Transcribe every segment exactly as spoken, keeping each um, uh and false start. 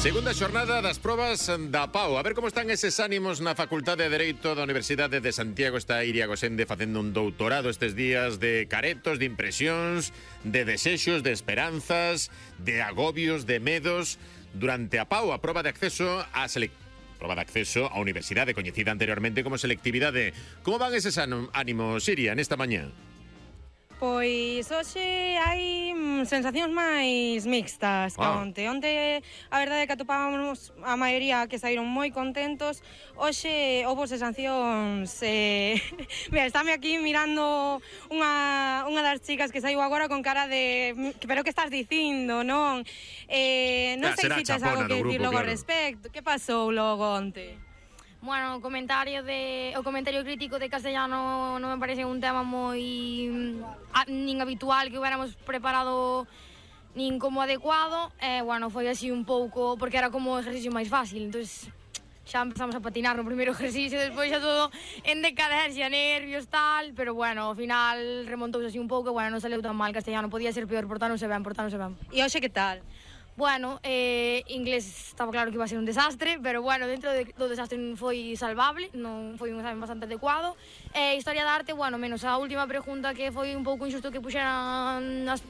Segunda xornada das probas da P A U. A ver como están eses ánimos na Facultade de Dereito da Universidade de Santiago. Está Iria Gosende facendo un doutorado estes días de caretos, de impresións, de desexos, de esperanzas, de agobios, de medos. Durante a P A U, a proba de acceso a selec... proba de acceso á universidade, coñecida anteriormente como selectividade. Como van eses ánimos, Iria, nesta mañá? Pois hoxe hai sensacións máis mixtas que ah. onte. Onte a verdade é que atopábamos a maioría que saíron moi contentos. Hoxe houve sensacións eh... Mira, estáme aquí mirando unha, unha das chicas que saiu agora con cara de pero que estás dicindo, non? Eh, non ah, sei se tes algo que dicir logo ao respecto. Que pasou logo onte? Bueno, o comentario de o comentario crítico de castellano non me parece un tema moi a, nin habitual que hubiéramos preparado nin como adecuado. E, bueno, foi así un pouco porque era como o exercicio máis fácil, entonces xa empezamos a patinar no primeiro exercicio, despois xa todo en decadencia, nervios, tal, pero bueno, ao final remontouse así un pouco, e, bueno, non saleu tan mal castellano, podía ser peor, portáronse ben, portáronse ben. E hoxe que tal? Bueno, eh, inglés estaba claro que iba a ser un desastre, pero bueno, dentro de, do desastre foi salvable, non foi un examen bastante adecuado. E eh, historia da arte, bueno, menos a última pregunta que foi un pouco injusto que puxeran as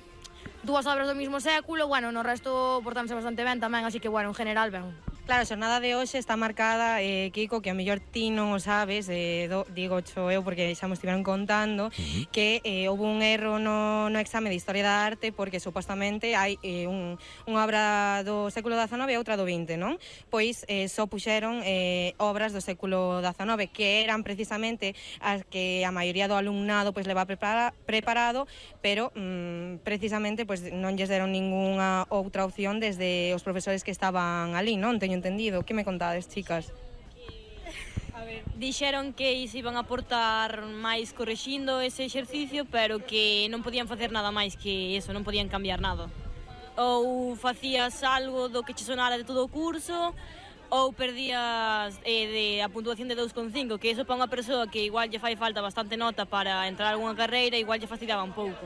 dúas obras do mismo século, bueno, no resto portándose bastante ben tamén, así que bueno, en general ben. Claro, a xornada de hoxe está marcada, eh, Kiko, que a mellor ti non o sabes, eh, do, digo xo eu porque xa me estiveron contando, uh-huh. que eh, houve un erro no, no exame de Historia da Arte porque supostamente hai eh, un, unha obra do século dezanove e outra do vinte, non? Pois eh, só puxeron eh, obras do século dezanove que eran precisamente as que a maioría do alumnado pois leva prepara, preparado, pero mm, precisamente pois non lles deron ningunha outra opción desde os profesores que estaban ali, non? Teño entendido. Que me contades, chicas? A ver, dixeron que se iban a aportar máis correxindo ese exercicio, pero que non podían facer nada máis que eso, non podían cambiar nada. Ou facías algo do que che sonara de todo o curso, ou perdías eh, de a puntuación de dous coma cinco, que eso para unha persoa que igual lle fai falta bastante nota para entrar a algunha carreira, igual lle fastidiaba un pouco.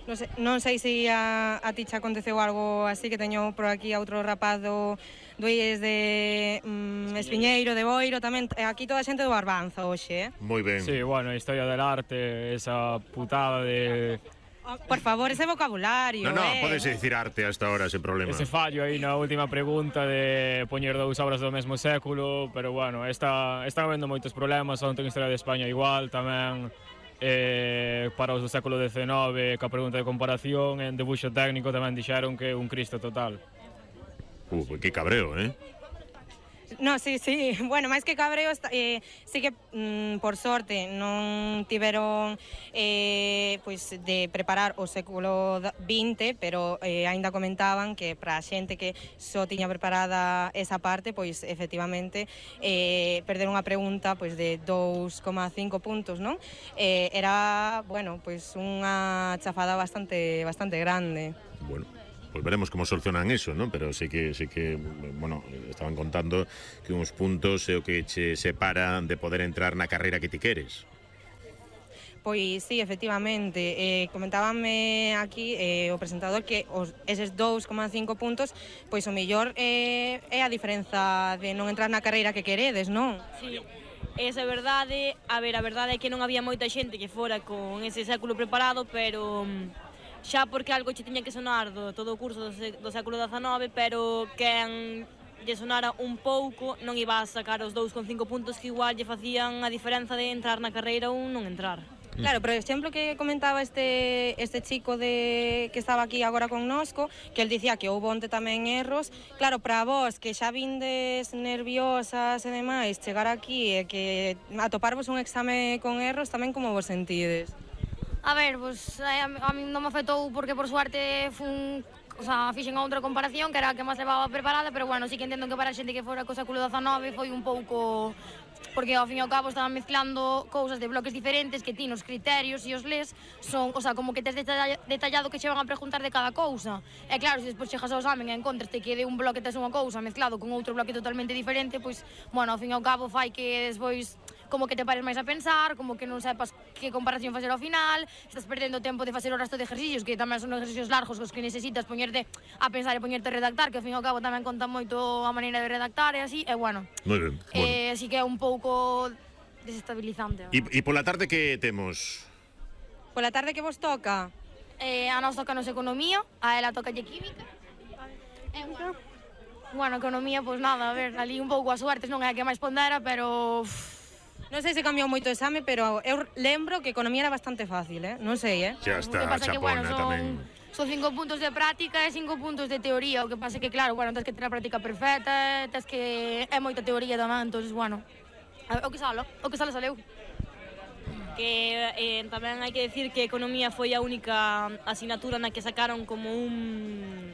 Non sei, non sei se a, a ti xa aconteceu algo así, que teño por aquí a outro rapaz do, do I E S de mm, Espiñeiro, de Boiro, tamén, aquí toda a xente do Barbanza hoxe, eh? Moi ben. Sí, bueno, a historia del arte, esa putada de... Oh, por favor, ese vocabulario, No, no, eh? podes dicir arte hasta ahora, sen problema. Ese fallo aí na última pregunta de poñer dous obras do mesmo século, pero bueno, está, están habendo moitos problemas, onte en Historia de España igual, tamén... Eh, para os do século dezenove, ca pregunta de comparación, en debuxo técnico tamén dixeron que un Cristo total. Uh, que cabreo, eh? No, sí, sí, bueno, máis que cabreo, eh, sí que, mm, por sorte, non tiveron eh, pois de preparar o século vinte, pero eh, aínda comentaban que para a xente que só tiña preparada esa parte, pois efectivamente eh, perder unha pregunta pois de dous coma cinco puntos, non? Eh, era, bueno, pois unha chafada bastante bastante grande. Bueno, pues veremos como solucionan eso, ¿no? Pero sí que, sí que, bueno, estaban contando que uns puntos é o que che separa de poder entrar na carreira que ti queres. Pois sí, efectivamente, eh, comentábame aquí eh, o presentador que os, eses dous coma cinco puntos, pois o mellor eh, é a diferenza de non entrar na carreira que queredes, non? Sí, esa é verdade. A ver, a verdade é que non había moita xente que fora con ese século preparado, pero... xa porque algo che tiña que sonar do todo o curso do, do século dezanove, pero quen lle sonara un pouco non iba a sacar os dous coma cinco puntos que igual lle facían a diferenza de entrar na carreira ou non entrar. Claro, por exemplo que comentaba este este chico de que estaba aquí agora connosco, que el dicía que houve onte tamén erros. Claro, para vos que xa vindes nerviosas e demais, chegar aquí e que atoparvos un exame con erros, tamén como vos sentides? A ver, pues a, a mí non me afectou porque por suerte fun, o sea, fixen outra comparación que era a que máis levaba preparada, pero bueno, sí que entendo que para a xente que fora co século dezanove foi un pouco... porque ao fin e ao cabo estaban mezclando cousas de bloques diferentes que ti nos criterios e os les son, o sea, como que tes detallado que che van a preguntar de cada cousa. E claro, se despois chegas ao examen e encontraste que de un bloque tes unha cousa mezclado con outro bloque totalmente diferente, pois, bueno, ao fin e ao cabo fai que despois como que te pares máis a pensar, como que non sepas que comparación facer ao final, estás perdendo tempo de facer o resto de exercicios, que tamén son exercicios largos os que necesitas poñerte a pensar e poñerte a redactar, que ao fin e ao cabo tamén conta moito a maneira de redactar e así, e bueno. Moi ben. Eh, así que é un pouco desestabilizante. E, e pola tarde que temos? Pola tarde que vos toca? Eh, a nos toca nos economía, a ela toca lle química. E bueno, bueno, economía, pois pues nada, a ver, ali un pouco a suertes non é a que máis pondera, pero... Uff. Non sei se cambiou moito o exame, pero eu lembro que economía era bastante fácil, eh? Non sei, eh? Xa está, pasa chapona que, bueno, son, tamén. Son cinco puntos de práctica e cinco puntos de teoría, o que pasa que, claro, bueno, tens que ter a práctica perfecta, tens que... é moita teoría tamén, entón, bueno, o que salo, o que salo saleu. Que eh, tamén hai que decir que Economía foi a única asignatura na que sacaron como un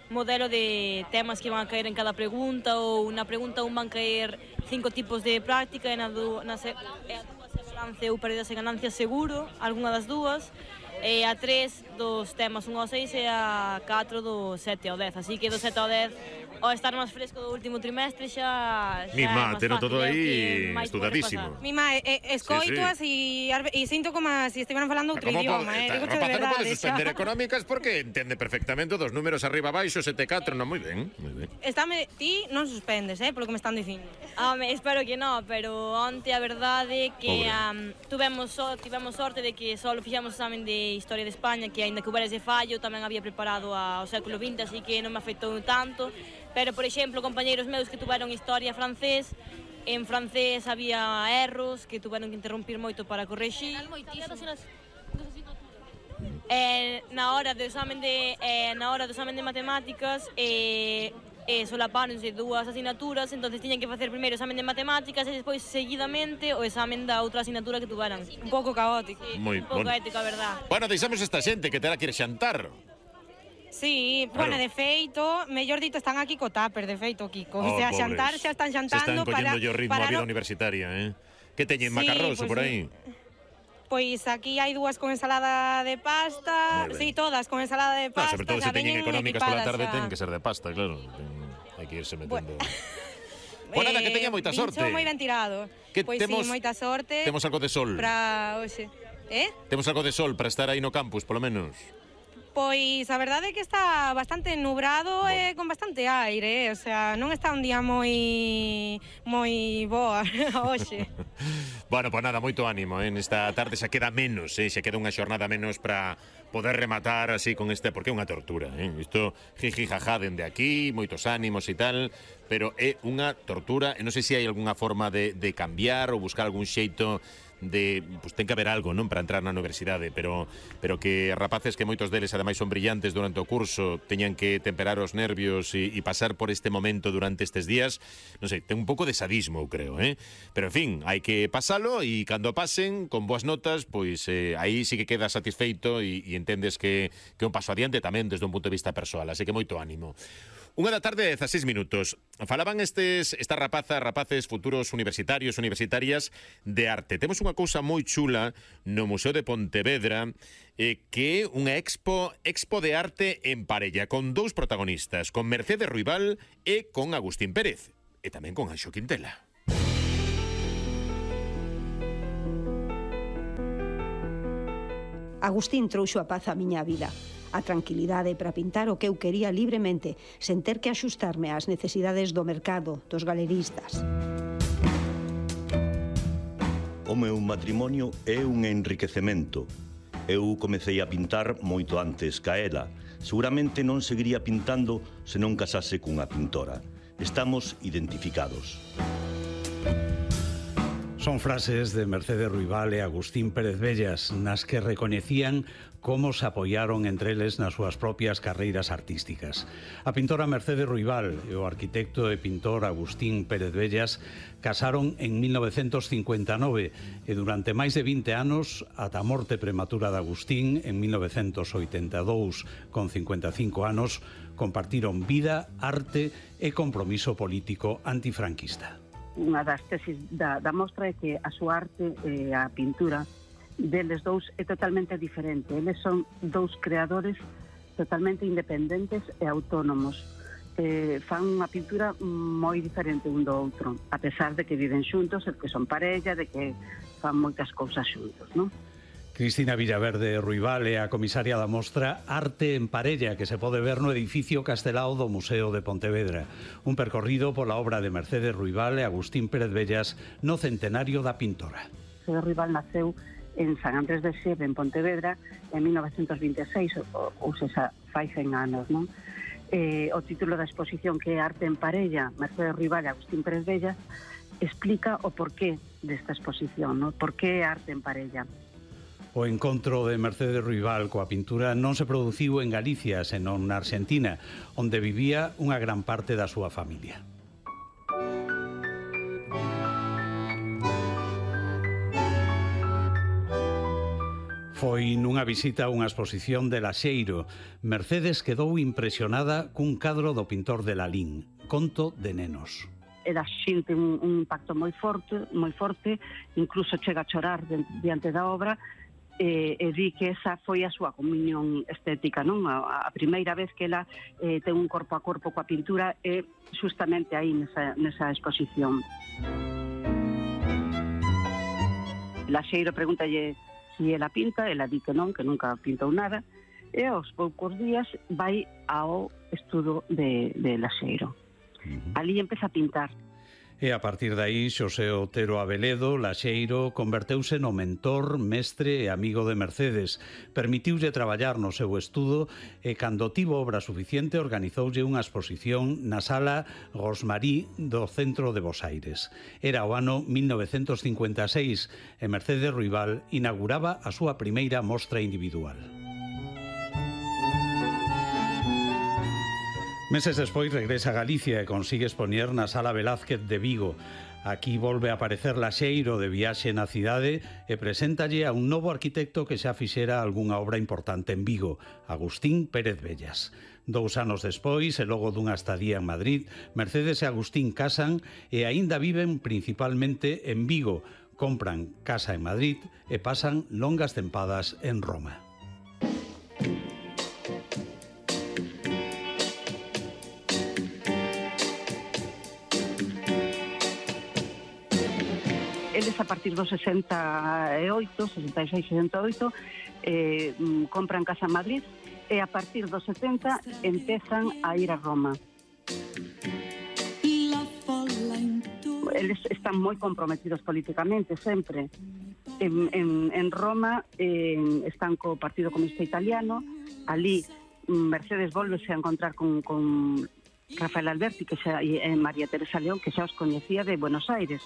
modelo de temas que van a caer en cada pregunta, ou na pregunta un van caer cinco tipos de práctica e na, du, na se, e a dúas é balance ou perdas e ganancias seguro, algunha das dúas, e a tres dos temas un ao seis e a catro do sete ao dez, así que do sete ao dez ao estar máis fresco do último trimestre xa, xa Mi má, teno todo aí estudadísimo. Mi má, eh, escoitoas sí, sí. e, e sinto como se estiveran falando outro Como idioma, eh? Digo de rapaz, non verdade, podes suspender xa. económicas porque entende perfectamente dos números arriba abaixo, sete catro, non, moi ben, moi ben. Estame, ti non suspendes, eh, polo que me están dicindo. Home, espero que non, pero onte a verdade que Pobre. um, tuvemos, so, tivemos sorte de que só fixamos examen de Historia de España, que aínda que houbera ese fallo, tamén había preparado ao século vinte, así que non me afectou tanto. Pero, por exemplo, compañeiros meus que tuveron Historia francés, en francés había erros que tuveron que interrumpir moito para correxir. Eh, na hora do examen de eh, na hora do examen de matemáticas eh, eh, solapáronse dúas asignaturas, entonces tiñan que facer primeiro o examen de matemáticas e despois seguidamente o examen da outra asignatura que tuveran. Un pouco caótico. Sí, Moi un pouco bon. ético, a verdad. Bueno, deixamos esta xente que terá que ir xantar. Sí, Claro. bueno, de feito, mellor dito, están aquí co tupper, de feito, Kiko. Oh, o sea, pobres. xantar xa están Se xantando están collendo para... yo ritmo para a vida no- universitaria, eh? Que teñen Sí, macarroso pues por sí. aí? Pois aquí hai dúas con ensalada de pasta, Moi ben. sí, todas con ensalada de No, pasta, sobre todo xa se teñen veñen económicas pola equipadas tarde xa. ten que ser de pasta, claro. Ten- Hai que irse metendo. Pues Eh, nada, que teña moita vincho sorte. moi ben tirado. Que Pois temos- sí, moita sorte. Temos algo de sol. Para hoxe. Eh? Temos algo de sol para estar aí no campus, polo menos. Pois a verdade é que está bastante nubrado bueno. e con bastante aire, eh? O sea, non está un día moi moi boa hoxe. Bueno, pues nada, moito ánimo, eh? Nesta tarde xa queda menos, eh? Xa queda unha xornada menos para poder rematar así con este, porque é unha tortura, eh? Isto jiji jaja dende aquí, moitos ánimos e tal, pero é unha tortura, e non sei se hai algunha forma de, de cambiar ou buscar algún xeito de, pues ten que haber algo, non, para entrar na universidade, pero pero que rapaces que moitos deles ademais son brillantes durante o curso teñan que temperar os nervios e, e pasar por este momento durante estes días, non sei, ten un pouco de sadismo, eu creo, eh? Pero en fin, hai que pasalo e cando pasen con boas notas, pois eh, aí sí que quedas satisfeito e, e entendes que que é un paso adiante tamén desde un punto de vista persoal, así que moito ánimo. Unha da tarde, dezaseis minutos. Falaban estes, estas rapazas, rapaces futuros universitarios, universitarias de arte. Temos unha cousa moi chula no Museo de Pontevedra, eh, que é unha expo, expo de arte en parella, con dous protagonistas, con Mercedes Ruibal e con Agustín Pérez, e tamén con Anxo Quintela. Agustín trouxo a paz á miña vida, a tranquilidade para pintar o que eu quería libremente, sen ter que axustarme ás necesidades do mercado, dos galeristas. O meu matrimonio é un enriquecemento. Eu comecei a pintar moito antes ca ela. Seguramente non seguiría pintando se non casase cunha pintora. Estamos identificados. Son frases de Mercedes Ruibal e Agustín Pérez Bellas nas que recoñecían como se apoiaron entre eles nas súas propias carreiras artísticas. A pintora Mercedes Ruibal e o arquitecto e pintor Agustín Pérez Bellas casaron en mil novecentos cincuenta e nove e durante máis de vinte anos, ata a morte prematura de Agustín en mil novecentos oitenta e dous, con cincuenta e cinco anos, compartiron vida, arte e compromiso político antifranquista. Unha das tesis da, da mostra é que a súa arte e a pintura deles dous é totalmente diferente. Eles son dous creadores totalmente independentes e autónomos. Eh, fan unha pintura moi diferente un do outro, a pesar de que viven xuntos, de que son parella, de que fan moitas cousas xuntos, non? Cristina Villaverde Ruibal é a comisaria da mostra Arte en Parella, que se pode ver no edificio Castelao do Museo de Pontevedra. Un percorrido pola obra de Mercedes Ruibal e Agustín Pérez Bellas no centenario da pintora. Mercedes Ruibal naceu en San Andrés de Xeve, en Pontevedra, en mil novecientos vinte e seis, ou, ou seja, fai cen anos, non? Eh, o título da exposición, que é Arte en Parella, Mercedes Ruibal e Agustín Pérez Bellas, explica o porqué desta exposición, non? Por que arte en parella? O encontro de Mercedes Ruibal coa pintura non se produciu en Galicia, senón na Argentina, onde vivía unha gran parte da súa familia. Foi nunha visita a unha exposición de Laxeiro. Mercedes quedou impresionada cun cadro do pintor de Lalín, Conto de nenos. Era xente un, un impacto moi forte, moi forte, incluso chega a chorar diante da obra, e, e di que esa foi a súa comunión estética, non? A, a primeira vez que ela eh, ten un corpo a corpo coa pintura é justamente aí nesa, nesa exposición. Laxeiro pregúntalle si ela pinta, ela di que non, que nunca pintou nada, e aos poucos días vai ao estudo de, de Laxeiro. Uh-huh. Ali empeza a pintar. E a partir de aí, Xosé Otero Abeledo, Laxeiro, converteuse no mentor, mestre e amigo de Mercedes. Permitiulle traballar no seu estudo e, cando tivo obra suficiente, organizoulle unha exposición na sala Gosmarí do centro de Bos Aires. Era o ano mil novecentos cincuenta e seis e Mercedes Ruibal inauguraba a súa primeira mostra individual. Meses despois regresa a Galicia e consigue expoñer na Sala Velázquez de Vigo. Aquí volve a aparecer Laxeiro de viaxe na cidade e preséntalle a un novo arquitecto que xa fixera algunha obra importante en Vigo, Agustín Pérez Bellas. Dous anos despois, e logo dunha estadía en Madrid, Mercedes e Agustín casan e aínda viven principalmente en Vigo. Compran casa en Madrid e pasan longas tempadas en Roma. Eles a partir dos sesenta e oito, sesenta e seis, sesenta e oito, eh, compran casa en Madrid e a partir dos setenta empezan a ir a Roma. Eles están moi comprometidos políticamente, sempre. En, en, en Roma eh, están co Partido Comunista Italiano, ali Mercedes volvese a encontrar con, con Rafael Alberti que xa, e María Teresa León, que xa os coñecía de Buenos Aires.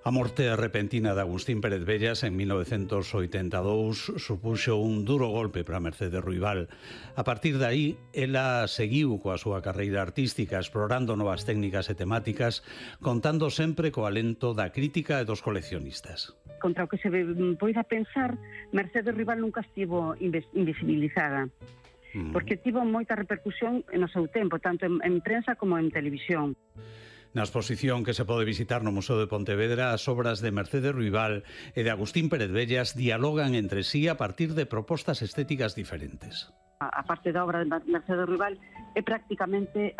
A morte repentina de Agustín Pérez Bellas en mil novecentos oitenta e dous supuxo un duro golpe para Mercedes Ruibal. A partir de aí, ela seguiu coa súa carreira artística, explorando novas técnicas e temáticas, contando sempre co alento da crítica e dos coleccionistas. Contra o que se poida pensar, Mercedes Ruibal nunca estivo invisibilizada, mm. porque tivo moita repercusión no seu tempo, tanto en, en prensa como en televisión. Na exposición que se pode visitar no Museo de Pontevedra, as obras de Mercedes Ruibal e de Agustín Pérez Bellas dialogan entre sí a partir de propostas estéticas diferentes. A parte da obra de Mercedes Ruibal é prácticamente